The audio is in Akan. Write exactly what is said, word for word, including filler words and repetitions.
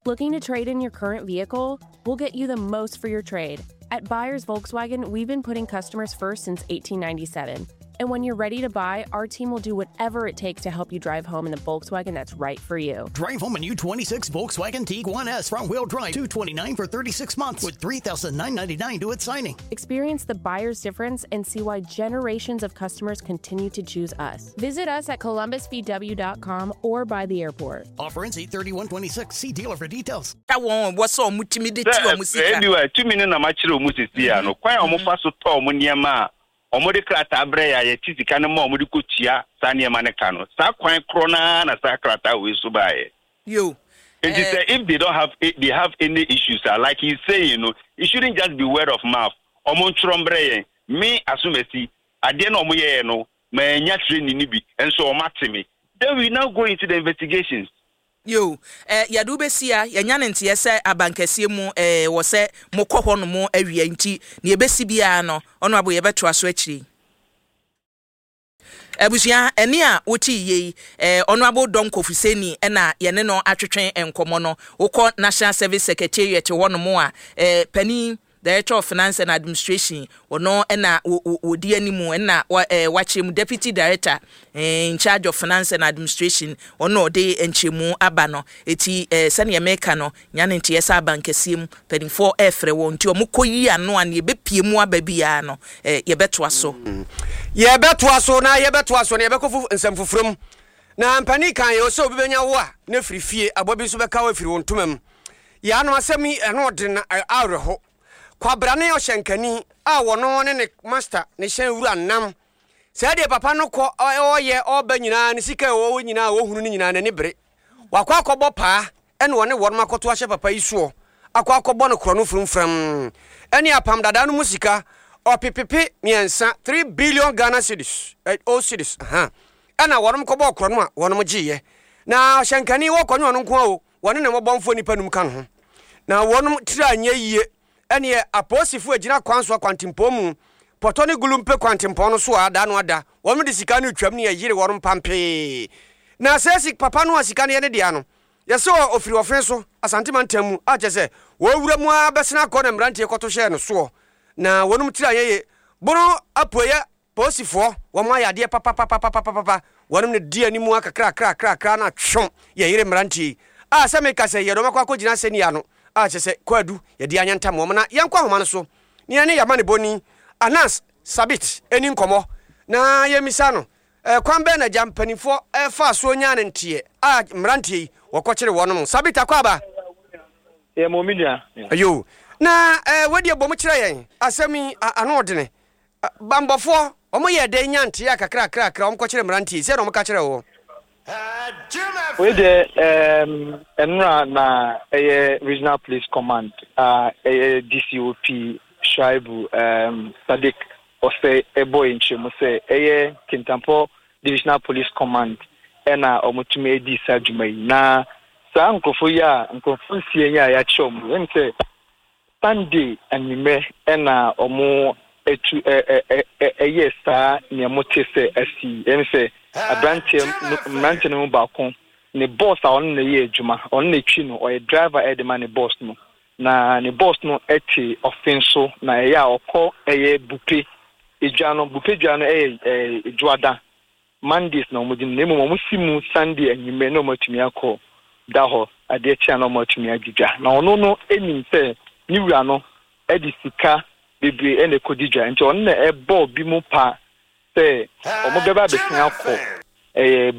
Looking to trade in your current vehicle? We'll get you the most for your trade. At Buyers Volkswagen, we've been putting customers first since eighteen ninety-seven. And when you're ready to buy, our team will do whatever it takes to help you drive home in the Volkswagen that's right for you. Drive home a new twenty-six Volkswagen Tiguan S front wheel drive, two twenty-nine for thirty-six months with three thousand nine hundred ninety-nine due at signing. Experience the buyer's difference and see why generations of customers continue to choose us. Visit us at columbus V W dot com or by the airport. Offer ends eight thirty-one twenty-six. See dealer for details. Wɔn wɔ sɛ ɔmo tumi de ti ɔmo sika. Anyway, tumi no na makyerɛ ɔmo sisi a no kwan a ɔmo fa so tɔ ɔmo nneɛma a ɔmo de krataa brɛ yɛ a yɛti sika no ma ɔmo de kɔtua saa nneɛma no ka no, saa kwan korɔ naa na saa krataa wei so baeɛ. Yo. Nti sɛ if they don't have they have any issues ah, like he's saying no, it shouldn't just be word of mouth. Ɔmo ntwerɛ mbrɛ yɛn. Me asomasi adeɛ na ɔmo yɛɛ no ma ɛnya training ni bi nso ɔmo ate me, then we now go into the investigations. Yo, eh, yɛde wobɛsi a yɛnya ne nteɛ sɛ abankɛseɛ mu eh, wɔ sɛ mokɔ hɔ nom awia, nti ne yɛbɛsi biara no ɔno abo yɛbɛtoa so akyiri. Abusua, ɛne a wote yie yi, eh, Honourable Donko Fuseni ɛna yɛne no atwetwe nkɔmmɔ no. Wokɔ National Service Secretariat hɔ nom a, eh, panin Director of Finance and Administration, ɔno ɛna wɔdi anim, ɛna wakyerɛ mu Deputy Director eh, in charge of Finance and Administration, ɔno ɔde nkyerɛmu aba no. Eti eh, sɛnea mɛka no nya ne nteɛ sɛ abankɛseɛ mu mpanimfoɔ ɛɛfrɛ wɔn, nti ɔmo kɔ yi ano a ne yɛbɛpie mu aba biara no, eh, yɛbɛtoa so. Yɛbɛtoa so na yɛbɛtoa so na yɛbɛkɔ fo nsɛm foforɔ mu. Na mpanin kan yɛ sɛ obi bɛnya wo a na firi fie aboa bi nso bɛka wo afiri wo ntoma mu. Yɛanom asɛm yi ɛno ɔde na awerɛho. Kwabrane ɔhyɛnkani a wɔno ne ne master ne hyɛn wura nam saa deɛ papa no kɔ ɔyɛ ɔba nyinaa ne sika ɛwɔ nyinaa a wɔhunu no nyinaa n'ani bere wakɔ akɔbɔ paa, ɛna ɔne wɔnom akɔto ahyɛ papa yi soɔ akɔ akɔbɔ no korɔ no furumfram ɛne apam dadaa no mu sika ɔpepepe mmiɛnsa, three billion Ghana cedis, eh, old cedis aha, ɛna wɔnom kɔbɔ korɔ no a wɔnom gyeeɛ. Na ɔhyɛnkani wɔkɔ ne ɔno nko a o, wɔne ne mmɔbɔmfoɔ nipa num ka no ho na wɔnom tiri anyɛ yie. Ɛneɛ apolisifoɔ agyina kwan so akwantempɔn mu Pɔtɔ ne Gulumpe kwantempɔn no so a ada no ada wɔn de sika no twam ne yɛyere wɔn pampee. Na sɛ si papa no a sika no yɛ ne dea no, yɛsɛ ɔfiri ɔfe so Asantema ntam mu a kyerɛ sɛ wɔwura mu a bɛsena akɔ na mmeranteɛ kɔto hyɛɛ no soɔ na wɔnom tiri anyɛ yie. Bono Apueɛ polisifoɔ wɔn ayɛ adeɛ papapapapapapa. Wɔnom ne di anim a kakrakrakrakra na twom yɛyere mmeranteɛ yi a sɛ meka sɛ yɛde wɔn akɔ akɔgyina asɛnnia no a kyerɛ sɛ kwadu yɛde anyɛ ntam wɔn. Na yɛnkɔ ahoma no so ne yɛne yɛama ne bɔni Anas Sabit ani nkɔmmɔ na yɛmmisa no kwan bɛn na gya mpanimfoɔ ɛfa soɔ nyaa ne nteɛ a mmeranteɛ yi wɔkɔkyere wɔnom. Sabit, akɔ aba. Yɛ mo mi nua. Ayo, na ɛɛ wɔde abɔ mu kyerɛ yɛn asɛm yi ano ɔdene. Bambɔfoɔ wɔn yɛ dɛ nya nteɛ a kakrakrakra wɔn kɔkyerɛ mmeranteɛ yi sɛ na wɔn ka kyerɛ wɔ? Wei deɛ, ɛɛm nnura na ɛyɛ Regional Police Command a ɛyɛ D C O P Shuaibu ɛɛm Sadiq ɔsɛ ɛbɔ yɛn nkyɛn mu sɛ ɛyɛ Kintampɔ Divisional Police Command ɛna wɔtumi edi saa dwuma yi. Na saa nkurɔfoɔ yi a nkurɔfoɔ nsia yi a yɛakyerɛ wɔn, ɛmu sɛ Sunday anwummerɛ ɛna wɔn etu ɛ ɛ ɛ ɛyɛ saa nea mo te sɛ asi. Ɛmu sɛ aberanteɛ no mmeranteɛ no mu baako ne boss a ɔno na ɛyɛ adwuma, ɔno na etwi no, ɔyɛ driver ɛde ma ne boss no, na ne boss no ɛte ɔfen so na ɛyɛ a ɔkɔ ɛyɛ Bupe edwa no. Bupe dwa no ɛyɛ ɛɛ dwoada, Mondays na wɔn di no, na mmom wɔn si mu Sunday anwummerɛ na wɔn atumi akɔ da hɔ adeɛ kyea na wɔn atumi agye dwa. Na ɔno no anim sɛ ne wura no ɛde sika bebree ɛna ɛkɔdi dwa, nti ɔno na ɛbɔ bi mu pa sɛ wɔn bɛba abɛsia akɔ ɛyɛ.